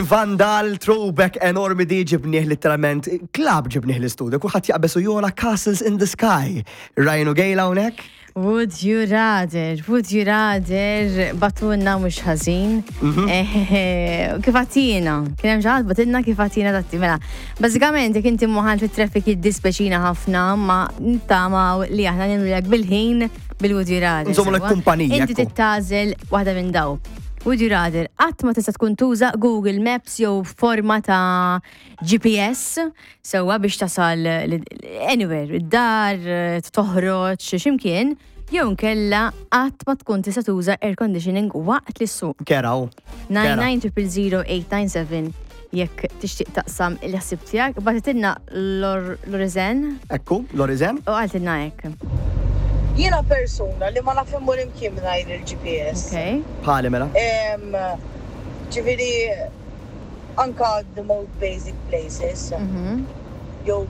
Vandal throwback enormi di ġibnieh literalment club ġibnieh l-istudio, kulħadd jaqbeż u jola Castles in the Sky. Ryan u Gail hawnhekk? Would you rather, would you rather, batunna mhux ħażin. Mhm. Eh, kif għatina, kien hemm xi ħadd batilna kif għatina tatti mela. Bażikament jekk inti moħan fit-traffic jiddispeċina ħafna ma nittama li aħna nimlek bil-ħin bil-would you rather. Nżommu l-kumpanija. Inti tittażel waħda minn daw. Would you rather qatt ma tista' tkun tuża Google Maps jew forma ta' GPS sewwa biex tasal anywhere, id-dar, toħroġ, x'imkien, jew nkella qatt ma tkun tista' tuża air conditioning waqt li ssuq. Keraw. 99000897 jekk tixtieq taqsam il-ħsib tiegħek, bagħtitilna Lorizen. Ekku, Lorizen. U qaltilna hekk. Jiena persuna li ma naf immur imkien mingħajr il-GPS. Okay. Bħali mela. Ġifieri anka the most basic places. Mhm. Jew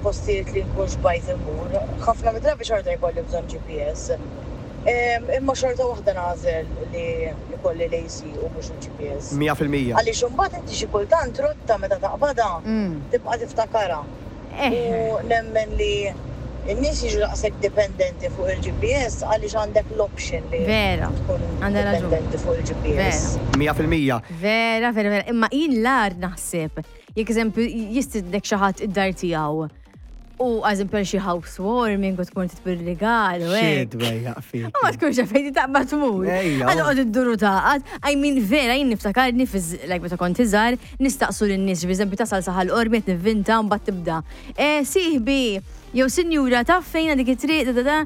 postijiet li nkun xbajt immur. Ħafna mid-drabi xorta jkolli bżonn GPS. Imma xorta waħda nagħżel li jkolli l-AC u mhux il-GPS. 100%. Għaliex imbagħad inti xi kultant rotta meta taqbadha tibqa' tiftakarha. U nemmen li n-nies jiġu daqshekk dipendenti fuq il-GPS għaliex għandek l-option li tkun dipendenti fuq il-GPS. 100%. Vera, vera, vera. Imma jien l-agħar naħseb jekk eżempju jistidnek xi ħadd id-dar tiegħu U eżempju għal xi housewarming u tkun titbir rigal u hekk. Xi fik. U ma tkunx fejn taqbad tmur. Għal qod idduru taqgħad. I mean vera jien niftakarni like meta kont iżgħar nistaqsu lin-nies, eżempju tasal saħal qormi qed nivvinta u mbagħad tibda. Eh sieħbi, jew sinjura taf fejn dik it-triq da da da.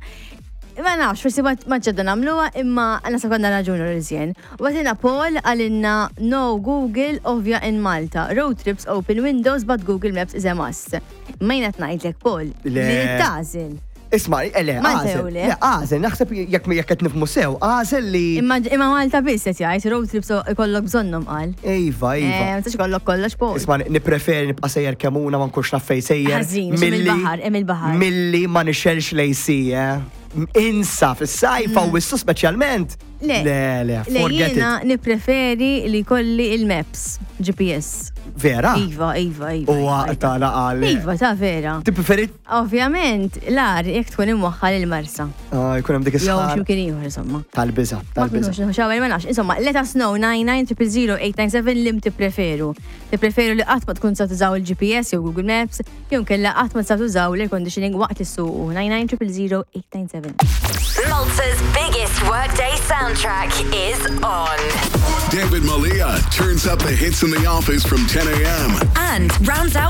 Ma nafx, forsi ma ġedda nagħmluha imma naħseb għandna raġun Rizjen. Watina Paul għalinna no Google ovvja in Malta. Road trips open windows but Google Maps is a must. Ma jien qed ngħidlek Paul, li tagħżel. Isma, eh, le, għażel. Le, għażel, naħseb jekk jekk qed nifhmu sew, għażel li. Imma imma Malta biss qed jgħid road trips ikollok bżonnhom qal. Iva, iva. Eh, ma tistax ikollok kollox Paul. Isma, nippreferi nibqa' sejjer kemuna ma nkunx naf fejn sejjer. Ħażin, il-baħar, hemm il-baħar. Milli ma nixelx lejsi, eh. Insa fis-sajfa u wissu speċjalment. Le, le, le, forget it. Jiena nippreferi li jkolli il-maps, GPS. Vera? Iva, iva, iva. U għaqta laqal. Iva, ta' vera. Tippreferi? Ovvjament, l-ar jekk tkun imwaħħal il-marsa. Ah, jkun hemm dik is Jew x'imkien ieħor insomma. Tal-biża, tal-biża. Ma ma nafx, insomma, let us know 99000897 lim tippreferu. Tippreferu li qatt ma tkun sa tużaw il-GPS jew Google Maps, Jew inkella qatt ma tistgħu tużaw l-air conditioning waqt li ssuqu 99000897. Malta's biggest workday soundtrack is on. David Malia turns up the hits in the office from 10 a.m. And rounds out the